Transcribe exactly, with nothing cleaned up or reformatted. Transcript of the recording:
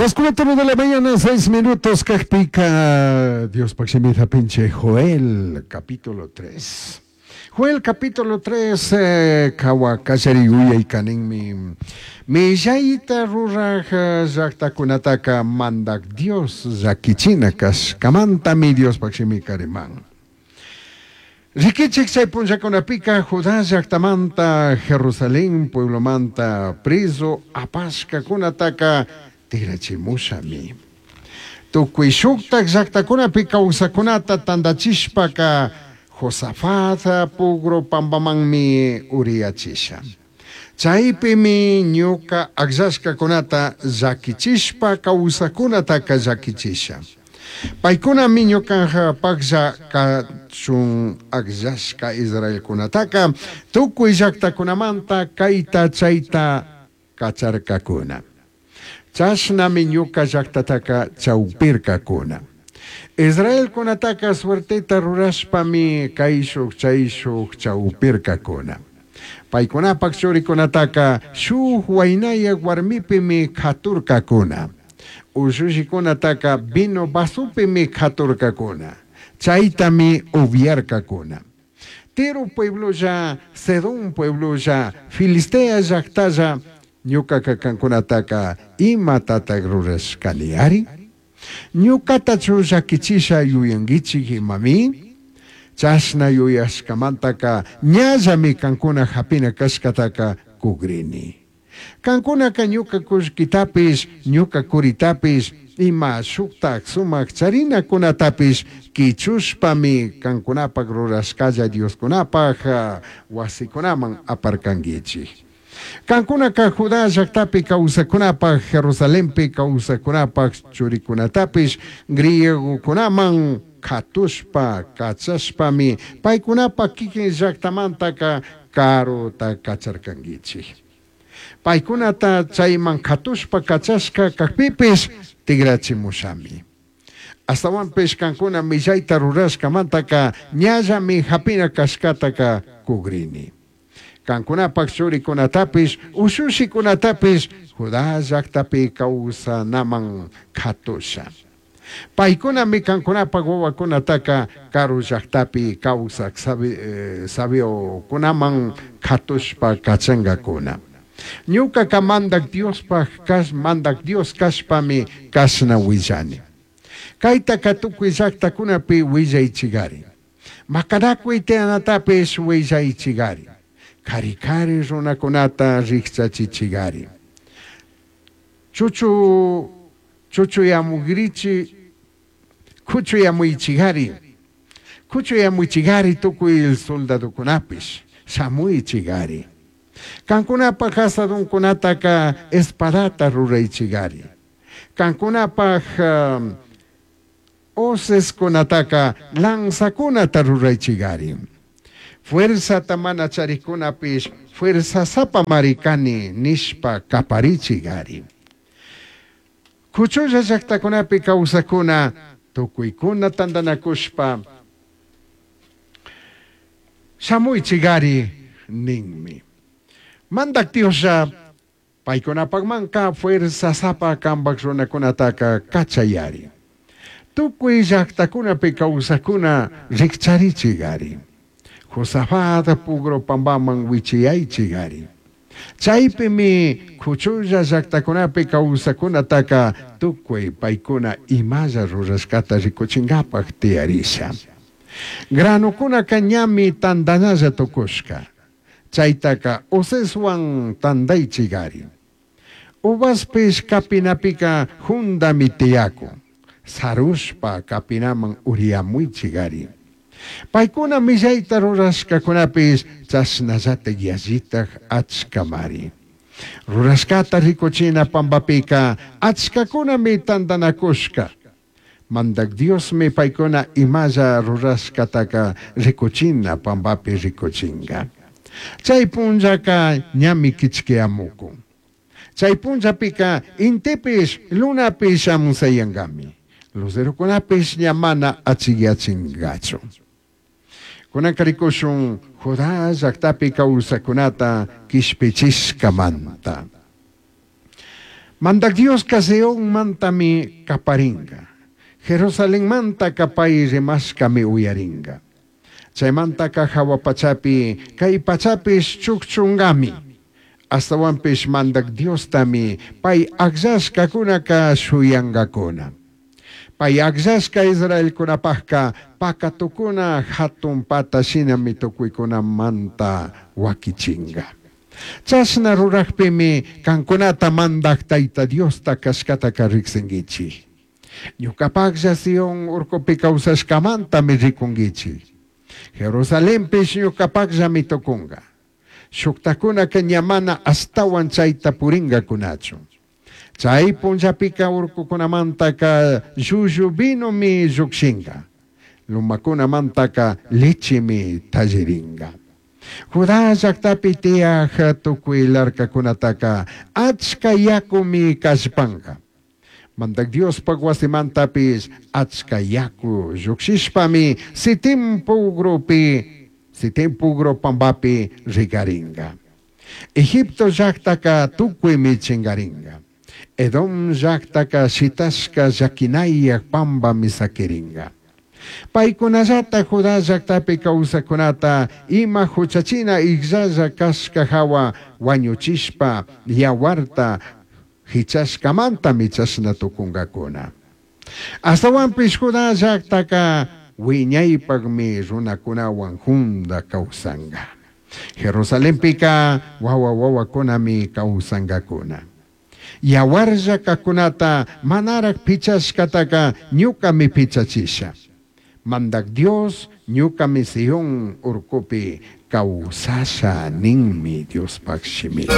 Las cuatro de la mañana, seis minutos, cajpica, Dios paximita pinche Joel, capítulo tres. Joel, capítulo tres, eh, kawa kallari uyay kaninmi. Millaita ruraj llaqtakunataka mandak Dios llakichina kashkamantami Dios paximi kariman. Rikichik chay punllakunapika Judá llaqtamanta Jerusalén pueblomanta preso apashkakunataka tirachimushami. Tukuy shuktak llaqtakunapi kawsakunata tandachishpaka Josafat pugro pampamanmi uriyachisha. Chaypimi ñuka akllashkakunata llakichishpa kawsakunataka llakichisha. Paykunami ñuka paklla kachun akllashka Israelkunataka tukuy llaqtakunamanta kayta chayta kacharkakuna. Chashnami ñuka llaqtataka chawpirkakuna. Israelkunataka suerteta rurashpami kayshuk chayshuk chawpirkakuna. Paykunapak churikunataka shuk waynayak warmipimi katurkakuna. Ushushikunataka vino vasupimi katurkakuna. Chaytami upiarkakuna. Tiro pueblolla, Sedón pueblolla, Filistea llaqtalla ñuka kankunataka imatataq rurashkani ari? Ñukatachu llakichisha yuyankichik imami? Chashna yuyashkamantaka ñallami kankuna hapina kashkataka kugrini. Kankunaka ñuka kullkitapish, ñuka kuritapish, ima shuktak sumak charinakunatapish kichushpami kankunapak rurashkalla Dioskunapak wasikunaman aparkankichik. Kankunaka Judá llaqtapi kawsakunapaq, Jerusalenpi kawsakunapaq churikunatapish griegokunaman katushpa kachashpami paykunapak kikin llaqtamantaka karuta kacharkankichik. Paykunata chayman katushpa kachashka kakpipish tigrachimushami. Astawanpish kankuna millayta rurashkamantaka ñallami hapina kashkataka kugrini. Kankunapak churikunatapish ushushikunatapish Judá llaqtapi kawsanaman katusha. Paykunami kankunapak wawakunataka karu llaqtapi kawsak eh, sabiokunaman katushpa kachankakuna. Ñukaka mandak Diospaj kash mandak Dios kashpami kashna willani. Kaytaka tukuy llaqtakunapi willaychigari. Makanakuy tiyanatapish willaychigari. Kari kari runakunata rikchachichigari. Chuchu chuchuyamugrichi kuchuyamuychigari. Kuchuyamuychigari tukuy soldadokunapish shamuychigari. Kankunapaj asadunkunataka espadata ruraychigari. Kankunapaj um, hoceskunataka lanzakunata ruraychigari. Fuerzata mana charikunapish fuerzasapa marikani nishpa kaparichigari. Kuchulla llaqtakunapi kawsakuna tukuykuna tantanakushpa shamuychigari ninmi. Mandak Dioslla paykunapakmanka fuerzasapa kampak runakunataka kachayari. Tukuy llaqtakunapi kawsakuna rikcharichigari. Josafat pugro pampaman wichiyaychigari. Chaypimi kuchulla llaqtakunapi kawsakunataka tukuy paykuna imalla rurashkata rikuchinkapaq tiyarisha. Granukunaka ñami tantanalla tukushka. Chaytaka hoceswan tantaychigari. Uvaspish kapinapika jundami tiyakun. Sarushpa kapinaman uriyamuychigari. Paykuna millayta rurashkakunapish chashnallatak yallitak achkamari. Rurashkata rikuchina pampapika achkakunami tantanakushka. Mandak Diosmi paykuna imalla rurashkataka rikuchina pampapi rikuchinga. Chay punllaka ñami kichkiyamukun. Chay punllapika intipish lunapish amusayankami. Lucerokunapish ña mana achiyachinkachu. Kunanka rikushun Judá llaqtapi kawsakunata kishpichishkamanta. Mandac Diosca Sionmantami caparinga. Jerusalenmantaca pai rimashcami uyaringa. Chaimantaca jahua pachapi, cai pachapish chujchungami. Ashtahuanpish Mandac Diostami pai agllashcacunaca shuyangacuna. Pai agllashca israelcunapajca pacatucuna jatun pata shinami tucuicunamanta huaquichinga. Chashna rurajpimi cancunata Mandaj Taita Diosta cashcataca rijsinguichij. Ñucapajlla Sion urcupi causashcamantami ricunguichij. Jerusalenpish ñucapajllami tucunga. Shujtajcunaca ña mana ashtahuan chaita puringacunachu. Chai punllapica urcucunamantaca llullu vinomi llujshinga. Lomacunamantaca lechemi talliringa. Judá llajtapi tiyaj tucui larcacunataca achca yacumi callpanga. Mandac Diospaj huasimantapish achca yacu llujshishpami Sitim pugrupi, Sitim pugru pambapi regaringa. Egipto llajtaca tucuimi chingaringa. Edom llajtaca shitashca llaquinayaj pambami saquiringa. Paicunallata Judá llajtapi causajcunata ima juchachina ijllalla cashca jahua huañuchishpa yahuarta jichashcamantami chashna tucungacuna. Ashtahuanpish Judá llajtaca huiñaipajmi runacunahuan junda causanga. Jerusalenpica huahua huahuacunami causangacuna. Yahuarlla cajcunata manaraj pichashcataca ñucami pichachisha. Mandac Dios ñucami Sion urcupi causasha ninmi Diospaj shimica.